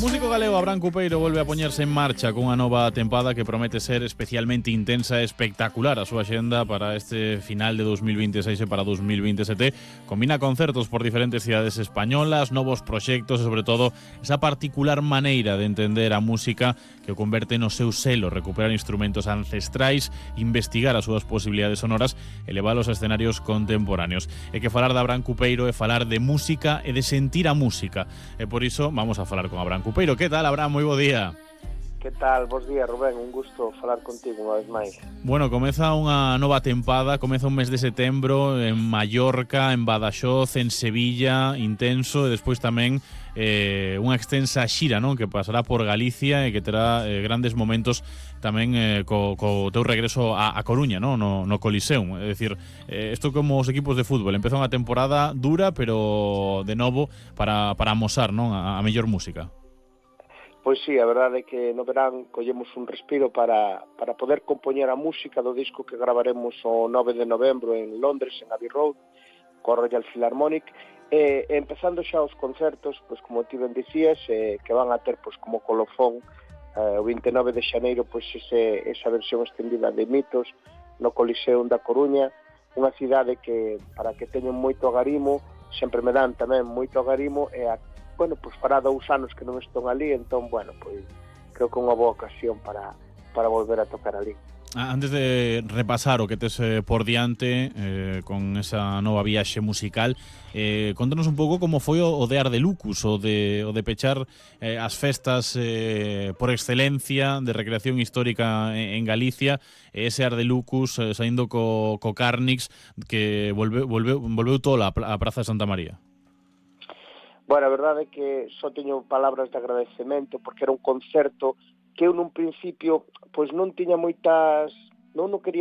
músico galego Abraham Cupeiro volve a poñerse en marcha cunha nova tempada que promete ser especialmente intensa e espectacular. A súa xenda para este final de 2026 e para 2027 combina concertos por diferentes cidades españolas, novos proxectos e, sobre todo, esa particular maneira de entender a música que o converte no seu selo, recuperar instrumentos ancestrais, investigar as súas posibilidades sonoras e leválos a escenarios contemporáneos. E que falar de Abraham Cupeiro é falar de música e de sentir a música. E por iso vamos a falar con Abraham Cupeiro. Que tal, Abraham? Moi bo día. Que tal? Bos días, Rubén. Un gusto falar contigo unha vez máis. Bueno, comeza unha nova tempada, comeza un mes de setembro en Mallorca, en Badaxoz, en Sevilla, intenso, e despois tamén unha extensa xira, non? Que pasará por Galicia e que terá grandes momentos tamén co teu regreso a Coruña, non? No Coliseum. É dicir, isto como os equipos de fútbol, empeza unha temporada dura, pero de novo para amosar, non? A mellor música. Pois sí, a verdade é que no verán collemos un respiro para poder compoñer a música do disco que gravaremos o 9 de novembro en Londres, en Abbey Road, co Royal Philharmonic, e empezando xa os concertos, pois como ti ben dicías, que van a ter pois como colofón o 29 de xaneiro pois esa versión extendida de Mitos no Coliseum da Coruña, unha cidade que, para que teñen moito agarimo, sempre me dan tamén moito agarimo, e bueno, pois fará 2 anos que non estou ali, entón, bueno, pois creo que é unha boa ocasión para volver a tocar ali. Antes de repasar o que tes por diante con esa nova viaxe musical, contanos un pouco como foi o de Ardelucus, o de pechar as festas por excelencia de recreación histórica en Galicia, ese Ardelucus saindo co Carnix que volveu tola a Praza de Santa María. Bueno, a verdade é que só teño palabras de agradecemento porque era un concerto que eu nun principio pois non tiña moitas, non quería